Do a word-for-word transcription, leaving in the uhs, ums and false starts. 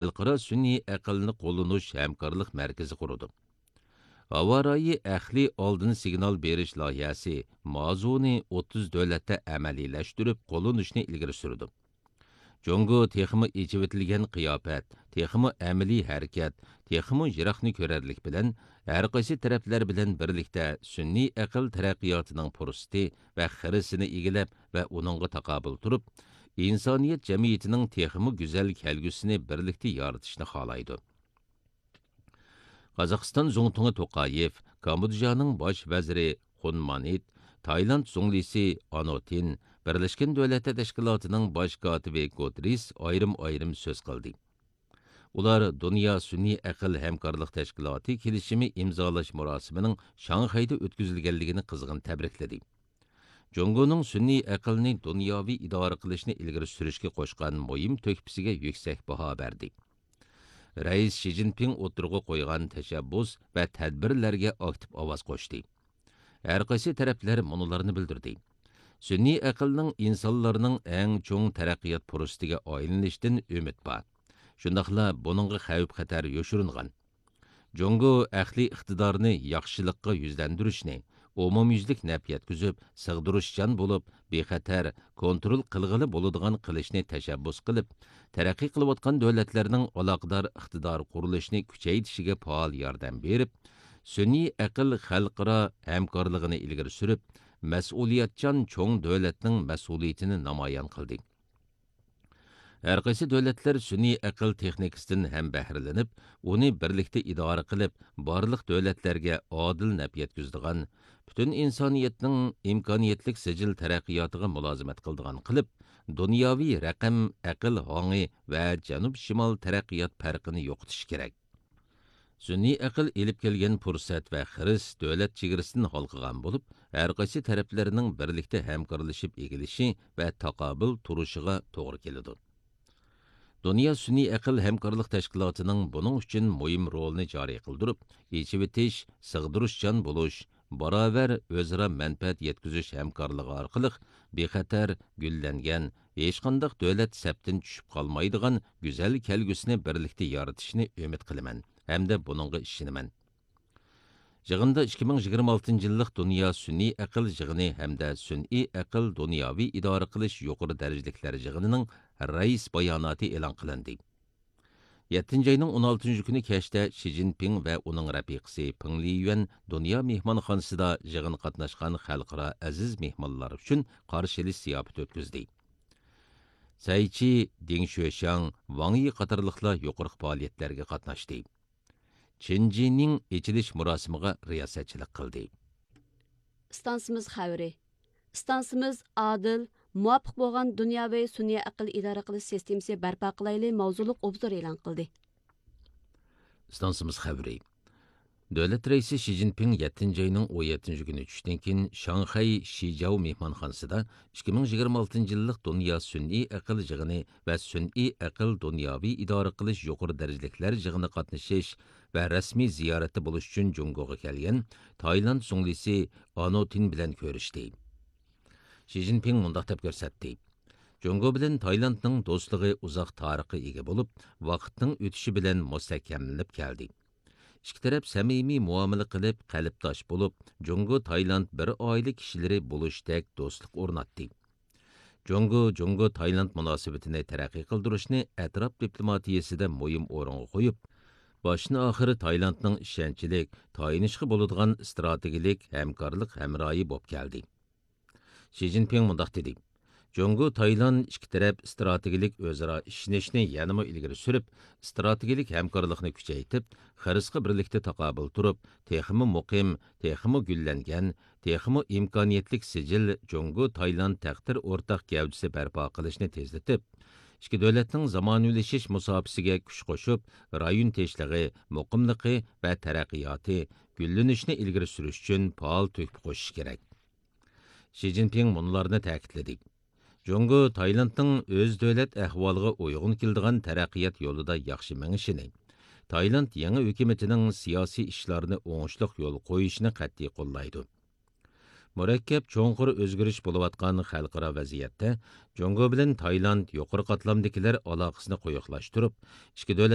خەلقئارا سۈنئىي ئەقىلنى قوللىنىش ھەمكارلىق مەركىزى قۇرىدۇ. ھاۋا رايى ئەقلىي ئالدىن سىگنال بېرىش لايىھەسى مازۇنى ئوتتۇز دۆلەتتە ئەمەلىيلەشتۈرۈپ قوللىنىشنى ئىلگىرى سۈرىدۇ. جۇڭگو تېخىمۇ ئېچىۋېتىلگەن قىياپەت، تېخىمۇ ئەمەلىي ھەرىكەت، تېخىمۇ يىراقنى كۆرەرلىك بىلەن ھەرقايسى تەرەپلەر بىلەن بىرلىكتە سۈنئىي ئەقىل تەرەققىياتىنىڭ پۇرسىتى ۋە خىرىسىنى ئىگىلەپ ۋە ئۇنىڭغا تاقابىل تۇرۇپ، ئىنسانىيەت جەمئىيىتىنىڭ تېخىمۇ گۈزەل كەلگۈسىنى بىرلىكتە يارىتىشنى خالايدۇ. قازاقىستان زۇڭتۇڭى توقايېف، كامبودژانىڭ باش ۋەزىرى خۇن مانىت، تايلاند زۇڭلىسى ئانوتىن، بىرلەشكەن دۆلەتلەر تەشكىلاتىنىڭ باش كاتىپى گۇتېررېس ئايرىم-ئايرىم سۆز قىلدى. ئۇلار دۇنيا سۈنئىي ئەقىل ھەمكارلىق تەشكىلاتى كېلىشىمى ئىمزالاش مۇراسىمىنىڭ شاڭخەيدە ئۆتكۈزۈلگەنلىكىنى قىزغىن تەبرىكلىدى. جۇڭگونىڭ سۈنئىي ئەقىلنى دۇنياۋى ئىدارە قىلىشنى ئىلگىرى سۈرۈشكە قوشقان مۇھىم تۆھپىسىگە يۈكسەك باھا بەردى. رەئىس شى جىنپىڭ ئوتتۇرىغا قويغان تەشەببۇس ۋە تەدبىرلەرگە ئاكتىپ ئاۋاز قوشتى. ھەرقايسى تەرەپلەر مۇنۇلارنى بىلدۈردى. سۈنئىي ئەقىلنىڭ ئىنسانلارنىڭ ئەڭ چوڭ تەرەققىيات پۇرسىتىگە ئايلىنىشىدىن ئۈمىد بار. شۇنداقلا بۇنىڭغا خەۋپ-خەتەر يوشۇرۇنغان. جۇڭگو ئەقلىي ئىقتىدارنى ياخشىلىققا يۈزلەندۈرۈشنى، ئومۇميۈزلۈك نەپ يەتكۈزۈپ، سىغدۇرۇشچان بولۇپ، بىخەتەر، كونترول قىلغىلى بولىدىغان قىلىشنى تەشەببۇس قىلىپ، تەرەققىي قىلىۋاتقان دۆلەتلەرنىڭ ئالاقىدار ئىقتىدار قۇرۇلۇشىنى كۈچەيتىشىگە پائال ياردەم بېرىپ، سۈنئىي ئەقىل خەلقئارا ھەمكارلىقىنى ئىلگىرى سۈرۈپ، مەسئۇلىيەتچان چوڭ دۆلەتنىڭ مەسئۇلىيىتىنى نامايان قىلدى. ھەرقايسى دۆلەتلەر سۈنئىي ئەقىل تېخنىكىسىدىن ھەم بەھرىلىنىپ، ئۇنى بىرلىكتە ئىدارە قىلىپ، بارلىق دۆلەتلەرگە ئادىل نەپ يەتكۈزىدىغان، پۈتۈن ئىنسانىيەتنىڭ ئىمكانىيەتلىك سىجىل تەرەققىياتىغا مۇلازىمەت قىلىدىغان قىلىپ، دۇنياۋى رەقەم ئەقىل ھاڭى ۋە جەنۇب شىمال تەرەققىيات پەرقىنى يوقىتىشى كېرەك. سۈنئىي ئەقىل ئېلىپ كەلگەن پۇرسەت ۋە خىرىس دۆلەت چېگرىسىدىن ھالقىغان بولۇپ، ھەرقايسى تەرەپلەرنىڭ بىرلىكتە ھەمكارلىشىپ ئېگىلىشى ۋە تاقابىل تۇرۇشىغا توغرا كېلىدۇ. دۇنيا سۈنئىي ئەقىل ھەمكارلىق تەشكىلاتىنىڭ بۇنىڭ ئۈچۈن مۇھىم رولىنى جارى قىلدۇرۇپ، ئېچىۋېتىش، سىغدۇرۇشچان بولۇش، باراۋەر ئۆزئارا مەنپەئەت يەتكۈزۈش ھەمكارلىقى ئارقىلىق بىخەتەر، گۈللەنگەن، ھېچقانداق دۆلەت سەپتىن چۈشۈپ قالمايدىغان گۈزەل كەلگۈسىنى بىرلىكتە يارىتىشنى ئۈمىد قىلىمەن ھەمدە بۇنىڭغا ئىشىنىمەن. يىغىندا ئىككى مىڭ يىگىرمە ئالتىنچى يىللىق دۇنيا سۈنئىي ئەقىل يىغىنى ھەمدە سۈنئىي ئەقىل دۇنياۋى ئىدارە قىلىش يۇقىرى دەرىجىلىكلەر يىغىنىنىڭ رەئىس باياناتى ئېلان قىلىندى. يەتتىنچى ئاينىڭ ئون ئالتىنچى كۈنى كەچتە شى جىنپىڭ ۋە ئۇنىڭ رەپىقىسى پېڭ لىيۈەن دۇنيا مېھمانخانىسىدا يىغىنغا قاتناشقان خەلقئارا ئەزىز مېھمانلار ئۈچۈن قارشى ئېلىش زىياپىتى ئۆتكۈزدى. سەي چى، دېڭ شۆشياڭ، ۋاڭ يى قاتارلىقلار يۇقىرىقى پائالىيەتلەرگە قاتناشتى. چېن جىنىڭ ئېچىلىش مۇراسىمىغا رىياسەتچىلىك قىلدى. ئىستانسىمىز خەۋىرى. ئىستانسىمىز ئادىل، مۇۋاپىق بولغان دۇنياۋى سۈنئىي ئەقىل ئىدارە قىلىش سىستېمىسى بەرپا قىلايلى ماۋزۇلۇق ئوبزور ئېلان قىلدى. ئىستانسىمىز خەۋىرى. دۆلەت رەئىسى شى جىنپىڭ يەتتىنچى ئاينىڭ ئون يەتتىنچى كۈنى چۈشتىن كېيىن شاڭخەي شىجاۋ مېھمانخانىسىدا ئىككى مىڭ يىگىرمە ئالتىنچى يىللىق دۇنيا سۈنئىي ئەقىل يىغىنى ۋە سۈنئىي ئەقىل دۇنياۋى ئىدارە قىلىش يۇقىرى دەرىجىلىكلەر يىغىنىغا قاتنىشىش ۋە رەسمىي زىيارەتتە بولۇش ئۈچۈن جۇڭگوغا كەلگەن تايلاند زۇڭلىسى ئانوتىن بىلەن كۆرۈشتى. شى جىنپىڭ مۇنداق دەپ كۆرسەتتى: جۇڭگو بىلەن تايلاندنىڭ دوستلۇقى ئۇزاق تارىخقا ئىگە بولۇپ، ۋاقىتنىڭ ئۆتۈشى بىلەن مۇستەھكەملىنىپ كەلدى. ئىككى تەرەپ سەمىمىي مۇئامىلە قىلىپ، قەلبداش بولۇپ، جۇڭگو تايلاند بىر ئائىلە كىشىلىرى بولۇشتەك دوستلۇق ئورناتتى. جۇڭگو، جۇڭگو تايلاند مۇناسىۋىتىنى تەرەققىي قىلدۇرۇشنى ئەتراپ دىپلوماتىيىسىدە مۇھىم ئورۇنغا قويۇپ، باشتىن ئاخىر تايلاندنىڭ ئىشەنچلىك، تايىنىشقا بولىدىغان ئىستراتېگىيەلىك ھەمكارلىق ھەمراھى بولۇپ كەلدى. شى جىنپىڭ مۇنداق دېدى: جۇڭگو تايلاند ئىككى تەرەپ ئىستراتېگىيەلىك ئۆزئارا ئىشىنىشنى يەنىمۇ ئىلگىرى سۈرۈپ، ئىستراتېگىيەلىك ھەمكارلىقنى كۈچەيتىپ، خىرىسقا بىرلىكتە تاقابىل تۇرۇپ، تېخىمۇ مۇقىم، تېخىمۇ گۈللەنگەن، تېخىمۇ ئىمكانىيەتلىك سىجىل جۇڭگو تايلاند تەقدىر ئورتاق گەۋدىسى بەرپا قىلىشنى تېزلىتىپ، ئىككى دۆلەتنىڭ زامانىۋىلىشىش مۇساپىسىگە كۈچ قوشۇپ، رايون تىنچلىقى، مۇقىملىقى ۋە تەرەققىياتى، گۈللىنىشىنى ئىلگىرى سۈرۈش ئۈچۈن پائال تۆھپە قوشۇشى كېرەك. شى جىنپىڭ مۇنۇلارنى تەكىتلىدى: جۇڭگو تايلاندنىڭ ئۆز دۆلەت ئەھۋالىغا ئۇيغۇن كېلىدىغان تەرەققىيات يولىدا ياخشى مېڭىشىنى، تايلاند يېڭى ھۆكۈمىتىنىڭ سىياسىي ئىشلارنى ئوڭۇشلۇق يولغا قويۇشىنى قەتئىي قوللايدۇ. مۇرەككەپ، چوڭقۇر ئۆزگىرىش بولۇۋاتقان خەلقئارا ۋەزىيەتتە جۇڭگو بىلەن تايلاند يۇقىرى قاتلامدىكىلەر ئالاقىسىنى قويۇقلاشتۇرۇپ، ئىككى دۆلەت